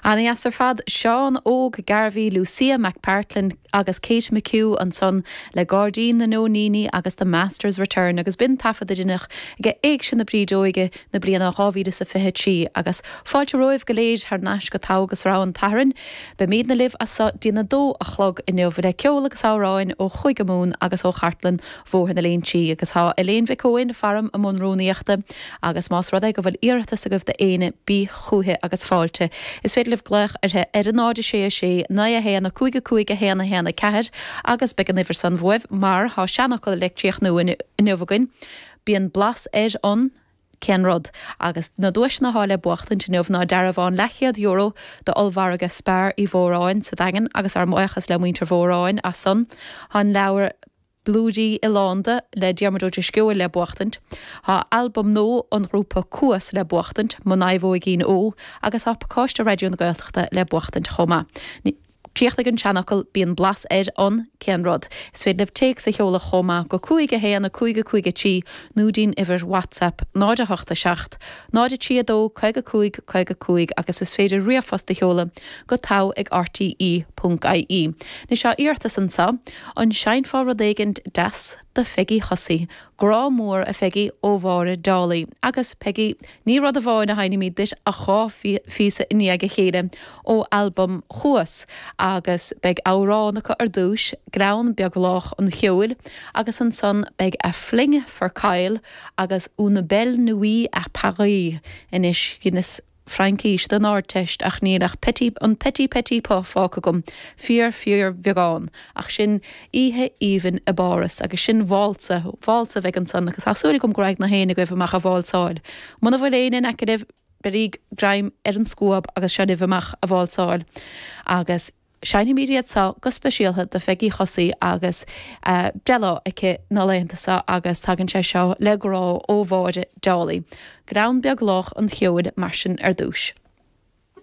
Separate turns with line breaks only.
Ana-dheas ar fad. Seán Óg Garvey, Lucia McPartlin agus Kate McHugh ansan le Gairdín na Nóiníní agus The Master's Return agus b'in taifead a deineadh ag Éigse na Brídeoige na bliana 2023 agus fáilte romhaibh go léir thar n-ais go Togha agus Rogha an tSathairn. Beimídne libh as so dtí'n 2 a chlog inniu le ceol agus amhráin ó Chúige Mumhan agus ó chartlann Bhóthar na Léinsí agus tá Elaine Mhic Eoin faram i mbun rúnaíochta agus más rud é go bhfuil iarratas agaibh d'éinne bíodh chúithi agus fáilte. Is féidir libh glaoch uirthi ar 0 6 6 9 1 5 5 1 1 4 agus beidh an uimhir san uaibh mar tá seanfhocal le críochnú inniu againn, bíonn blas ar an. Cén rud? Agus na duaiseanna atá le buachtaint inniu ná dearbhán leathchéad euro d'ollmhargadh Spar Uí Mhóráin sa Daingean agus ár mbuíochas le muintir Mhóráin as san. Tá an leabhar Blúirí Oileánda le Diarmuid Ó Drisceoil le buachtaint. Tá albam nua an ghrúpa Cuas le buachtaint, Mo Naomhóigín Ó, agus tá pacáiste Raidió na Gaeltachta le buachtaint chomh maith. Críochnaigh an seanfhocal, bíonn blas ar an, cén rud? Is féidir libh téacs a sheoladh chomh maith go 5 1 5 5 3 nó dtí'n uimhir WhatsApp 0 8 7 0 3 2 55 55 agus is féidir ríomhphost a sheoladh go togha ag rte ponc ie. Anois tá iarratas anseo, an seinnfeá rud éigin deas do Pheigí Chosaí? Grá mór, a Pheigí, ó Mháire Dálaigh. Agus, Peigí, ní rud amháin a sheinnfimid duit ach 2 phíosa i ndiaidh a chéile ó albam Chuas agus beidh amhrán acu ar dtúis, Gleann Beag Lách an Cheoil, agus ansan beidh A Fling for Kyle agus Une Belle Nuit à Paris. Anois, dheineas Fraincís don Ardteist ach níl ach petit, an petit petit peu fágtha agam, fíor fíor bheagán, ach sin oíche aoibhinn i bPáras agus sin válsa, válsa a bheidh ansan agus tá súil agam go raghaidh na héinne agaibh amach a válsáil. Muna bhfuil éinne in aice libh, beiríg greim ar an scuab agus seo libh amach a válsáil agus. Seinnfimid iad seo go speisialtha do Pheigí Chosaí agus breithlá aici na laethanta seo agus tagann sé seo le grá ó Mháire Dálaigh. Gleann Beag Lách an Cheoil mar sin ar dtúis.